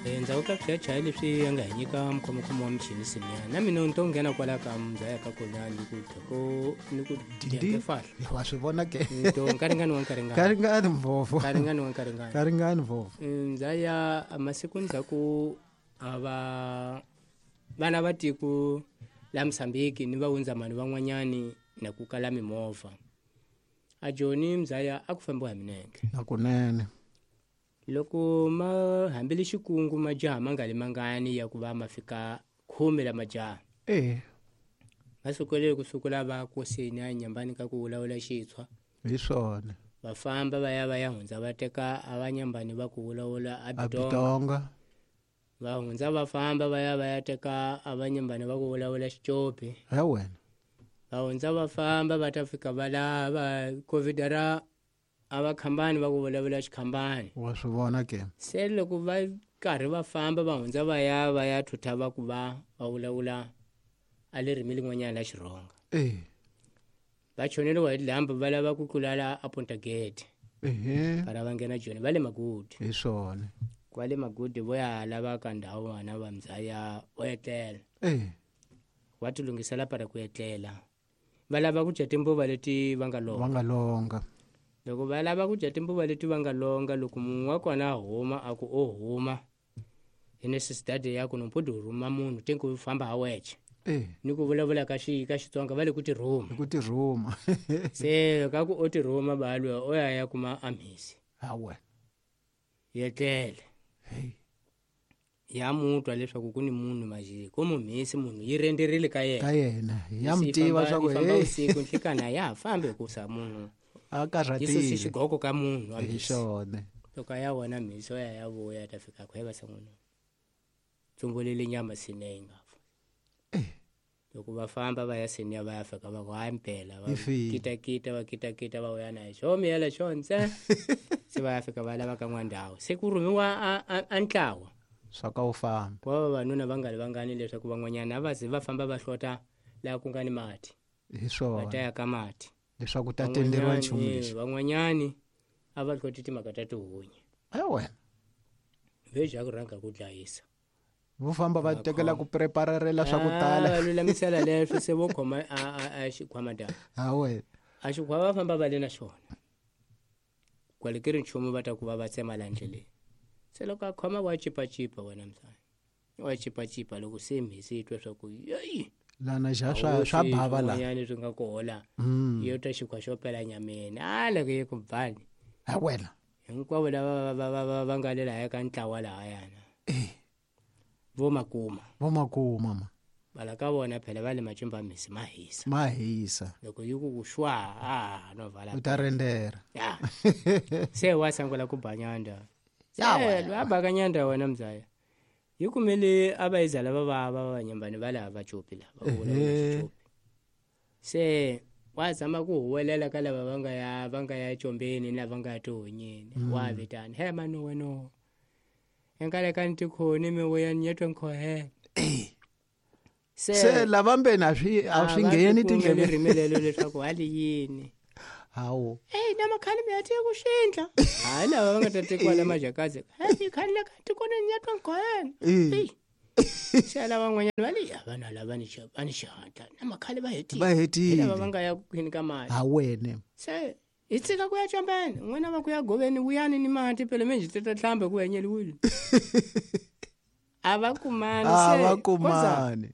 Endzhaku ka swichayachaya leswi ya nga hi nyika mukhomokhomo wa michini siniya na mina ni to nghena kwala ka muzaya ka kona ni ku ko ni ku Dindi fahla wa swi vona ke to nkaringani wa nkaringani karingani mvovo nkaringani wa nkaringani karingani mvovo ndzaya masiku ndzhaku a va vana va tiko la Mozambique ni va hundzamani van'wanyani na ku kala mimovha a Joni mzaya a ku fambiwa hi minenge nakunene loko ma hambile xikungu majaha ma nga li mangani ya ku va ma fika 10 la majaha va sukele ku sukula va koseni a nyambani ka ku vulavula xitshwa hi swona va famba va ya va ya hundza va teka a va nyambani va ku vulavula a Bitonga va hundza va famba va ya va ya teka a va nyambani va ku vulavula xicopi he wena va hundza va famba va ta fika va lava covid ra a va khambani va ku vulavula xikhambani wa swi vona ke se loko va karhi va famba va hundza va ya va ya thutha va ku va va vulavula a le ririmi lin'wanyana la xirhonga va choneliwa hi dyambu va lava ku tlulala a Punta Gate para va nghena Joni va le Magudi hi swona kwale Magudi vo ya lava ka ndhawu vana va mzaya vo etlela va ti lunghisela para ku etlela va lava ku dya timbuva leti va nga longa va nga longa loko va lava ku dya timbuva leti va nga longa loko munhu wa kona a huma a ku o huma hi necessidade ya ku nompodi rhuma munhu te ku famba ha wexe ni ku vulavula ka xi ka Xitsonga va le ku tirhuma ku tirhuma se ka ku o tirhuma balwe o ya ya kuma amhisi ha wena yetlele ya mutwa leswaku ku ni munhu majiki ku mumhisi munhu yi renderile ka yena ka yena ya mutiva swa ku hey usiku nhlikana ya ha fambi hikusa munhu a karhatile yi susi xigoko ka munhu hi swona loko a ya vona mhisi o ya ya vuya ta fika ku heva san'wini tsumbulele nyama sine yi nga fa loko va famba va ya seniya va ya fika va ku hayi mpela va kitakita va kitakita va vuya na xo miyela xo ntse se va ya fika va lava ka n'wandhawu se ku rhumiwa a ntlawa swa ka wu famba wa vavanuna va nga ri vangani leswaku van'wanyana a va ze va famba va hlota laha ku nga ni mati hi swona va ta ya ka mati leswaku ta tenderiwa nchumu lexi van'wanyani a va hloti timhaka ta tihunyi a wena veja ku rhanga ku dlayisa vo famba va tekela ku prepararela swa ku tala va lulamisela leswo se vo khoma a xikhwama da ha wena a xikhwama va famba va le na xona kwale ke ri nchumu va ta ku va va tsema la ndleleni se loko a khoma wa cipacipa wena msana wa cipacipa loko se mhisi yi twa swa ku yeyi lana xa swa swa bava la yani swi nga kola yo twa xikhwa xo pela nyameni a loko yi ku bani ha wena hinkwavo lava va nga le lahaya ka ntlawa lahayana vo makuma vo makuma ma vala ka vona phela va le macimba mhisi ma hisa ma hisa loko yi ku ku xwa a no vala u ta rendera ya se wa sangula ku ba nyanda ya wena a baka nyanda wena mzaya yi kumele a va yiza lava va va vanyambani va laha va copi lava va copi se wa zama ku huwelela ka lava va nga ya combeni ni lava nga ya tihonyeni wa vitana he mani weno enkale ka ntikhoni mi vuya ni yetwe nkhohela se lava mbeni a swi ngheni tindleveni rimelelo leswaku hali yini hawu eyi na makhale mi ya tiye ku xindla hayi lava va nga ta tekiwa la majakazi heyi khale la ka tikoni ni yetwe nkhohela eyi se lava van'wanyana va le ya vanhu lava ni va ni xihatla na makhale va hetile va hetile lava va nga ya kwini ka mali ha wena se hi tshika ku ya combeni n'wina va ku ya goveni vuyani ni mati phela menjhe ti ta hlamba ku henyeliwile a va kumani a va kumani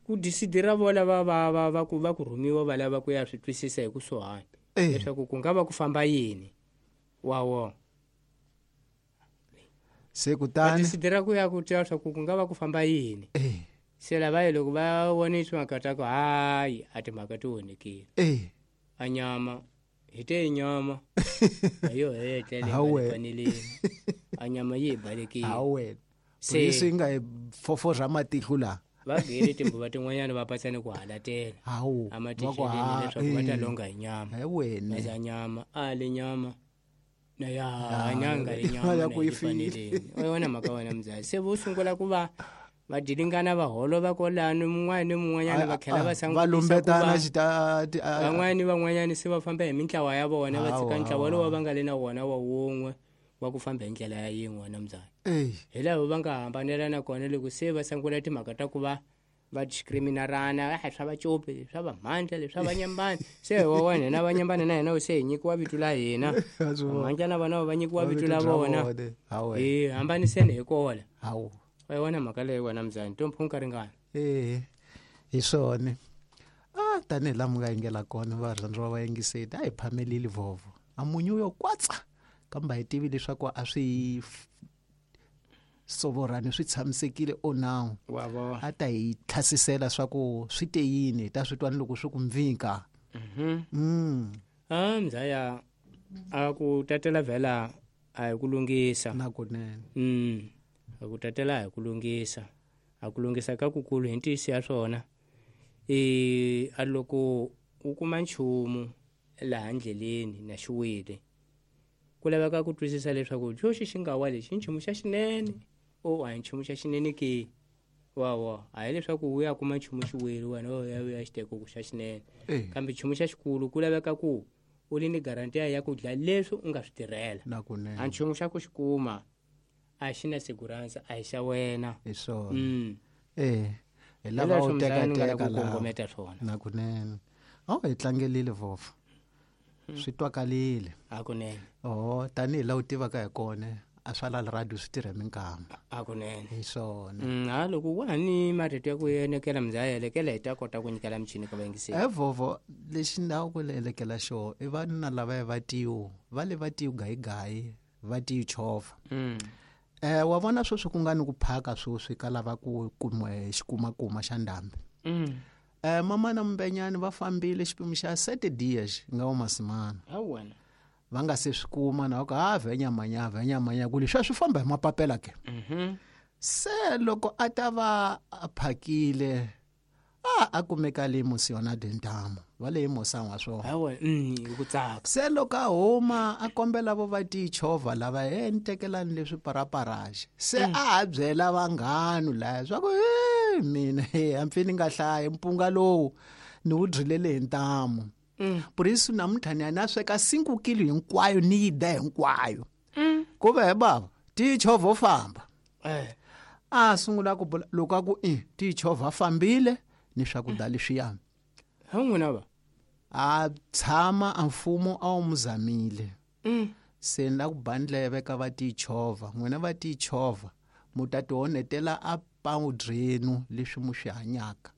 ku disidira vola va va va va ku va ku rhumiwa va lava ku ya swi twisisa hi kusuhani leswaku ku nga va ku famba yini wa wona se kutani disidira ku ya ku twa leswaku ku nga va ku famba yini se lava ye loko va vone timhaka ta ku hayi a timhaka ti onhekile a nyama hi te nyama a yo hetlele faneleni a nyama yi hi balekile ha wena se yi nga hi foforha matihlo laha va gele timbuva tin'wanyana va patsane ku halatela hawu a matixeleni leswaku va ta longa hi nyama he wena za nyama a le nyama na ya nyanga le nyama ya ku yi faneleni wena mhaka wena mzali se vo sungula ku va va dilingana va holova kwalano mun'wana ni mun'wanyana va tlhela va va lumbetana van'wana ni van'wanyana se va famba hi mintlawa ya vona va tshika ntlawa lowu va nga le na wona wa wun'we wa ku famba hi ndlela ya yin'we wena mzala hi lava va nga hambanelana kona loko se va sungula timhaka ta ku va va discriminarana swa vacopi swa vamhandla leswi swa vanyambani se wa wena na vanyambani na hina se hi nyikiwa vito la hina mhandla na vona va nyikiwa vito la vona hi hambaniseni hi kola wa yona mhaka leyi wena mzani to mpho ringana hi swona tanihi laha mi nga yingela kona varhandziwa va yingiseti a hi phamelile vovo a munyu yo kwatsa kambe hi tivi leswaku a swi sovorani swi tshamisekile o now a ta hi tlhasisela swa ku swi te yini hi ta swi twa ni loko swi ku mvika mzaya a ku tatela vhela a hi ku lunghisa na kunene a ku tatela a hi ku lunghisa a ku lunghisa ka kukulu hi ntiyiso ya swona a loko u kuma nchumu laha ndleleni na xiwile ku laveka ku twisisa leswaku xoxi xi nga wa lexi i nchumu xa xinene o a hi nchumu xa xinene ke wawa a hi leswaku u ya kuma nchumu xiwile wena u ya u ya xi teka ku xa xinene kambe nchumu xa xikulu ku laveka ku u li ni garantiya ya ku dla leswi u nga swi tirhela a nchumu xa ku xi kuma a xi na segurança a hi xa wena hi swona hi lava u tekateka ku kongometa swona na kunene hi tlangelile vovo swi twakalile hakunene tanihi laha u tivaka hi kona a swa la radio swi tirha minkama hakunene hi swona loko wa ha ni marito ya ku enekela mzaya elekela hi ta kota ku nyikela michini ka vayingiseri vovo lexi ni ku elekela xo i vanuna lava va tiyu va le va tiyu gayigayi va tiyu chovha wa vona sweswi ku nga ni ku phaka sweswi ka lava ku kumiwa xikumakuma xa ndhambi mama na Mbenyani va fambile xipimo xa 7 dias nga wa masimana va nga se swi kuma na ku ha vhenyamanya ku leswi swi famba hi mapapela ke se loko a ta va a phakile a kumeka le Musiona Dentamu va le Mosang wa swona ku tsaka se loko a huma a kombela vo va tichovha lava ni tekelani leswi paraparaxe se a ha byela vanghanu laya swa ku mina hambi ni nga hlayi mpunga lowu ni wu dyilele hi ntamu purisu namuntlha ni ya na sweka 5 kilo hinkwayo ni yi da hinkwayo ku ve baba tichovha famba a sungula ku loko a ku tichovha fambile ni swakudya leswiya n'wina va a tshama a mfumo a wu muzamile se ni la ku ba ndleve ka va tichovha n'wina va tichovha mu ta tionetela a pawudrenu leswi mu swi hanyaka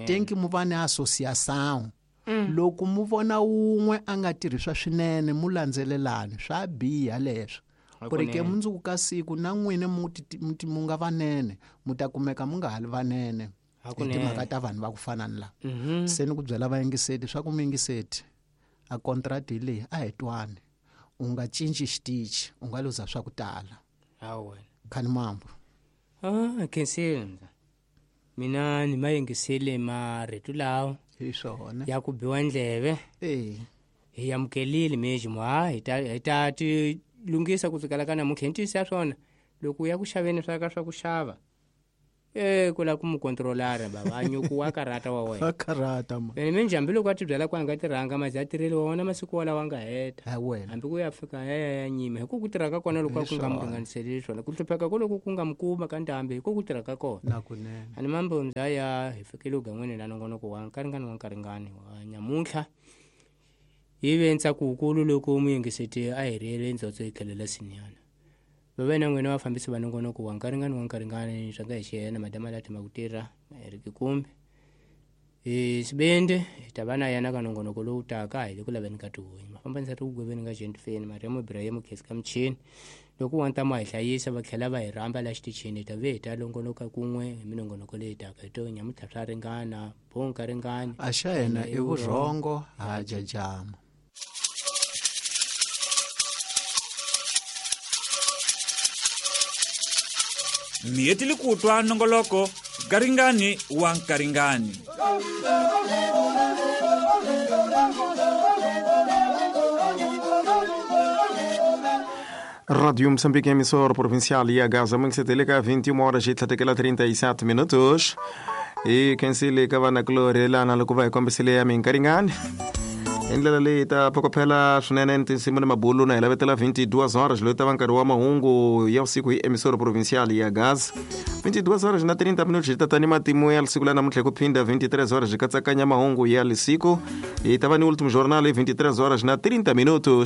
tenki mu va ni association loko mu vona wun'we a nga tirhiswa swinene mu landzelelani swa biha leswo ku ri ke mundzuku ka siku na n'wina mu nga vanene mu ta kumeka mu nga ha li vanene hi timhaka ta vanhu va ku fana ni la se ni ku byela vayingiseti swa ku muyingiseti a contract hi leyi a hi twani u nga cinci xitichi u nga luza swa ku tala khani mambo khensile mina ni mayingisele marito lawa hi swona ya ku biwa ndleve hi amukelile mejimo hi ta ti lunghisa ku sukela ka namuntlha hi ntiyiso ya swona loko u ya ku xaveni swa ka swa ku xava ku la ku mu controlara baba a nyuku wa karata wa wena karata ma ene minjhe hambi loko a ti byela ku a nga tirhanga mazi a tirheli wa wona masiku walawa nga heta wena hambi ku ya fika ya nyima hi ku ku tirha ka kona loko a ku nga mu ringaniseleli swona ku hlupheka ko loko ku nga mu kuma ka ndhambi hi ku ku tirha ka kona na kunene ani mambo mzaya hi fikile ugan'wini la nongonoko wa nkaringani wa nkaringani wa nyamuntlha hi ve ntsakukulu loko muyingiseti a hi riyele ndzotso hi tlhelo la sinyana vave na n'wina vafambisi va nongonoko wa nkaringani wa nkaringani swa nga hi xiyena madama la thema ku tirha Eric Kumbe hi sibende hi ta va na yena ka nongonoko lowu taka hi le ku laveni ka tihunyi mafambanisa ri ku gweveni ka Gentfeni Mariam Ibrahim Khesi ka michini loko wa ntamu hi hlayisa va tlhela va hi rhamba la xitichini hi ta ve hi ta longonoka kun'we hi minongonoko leyi taka hi to nyamuntlha swa ringana bonka ringani a xa yena i vurhongo ha jajama Miyetili kutwa nongoloko garingani wa nkaringani. Rádio Moçambique, emissora provincial e a Gaza, muito teleka 21 horas e 37 minutos. E quem se liga vai na glória lá na lukuva e kombisile ya minkaringani. Hi ndlela leyi ta phokophela swinene ni tinsimu ni mabulu na hi lavetela 22 horas loyi ta va nkarhi wa mahungu ya vusiku hi emissora provincial ya Gaza. 22 horas na 30 minutos hi ta ta ni matimu ya siku la namuntlha hi ku phinda 23 horas hi katsakanya mahungu ya lisiku. Hi ta va ni ultimo jornal hi 23 horas na 30 minutos.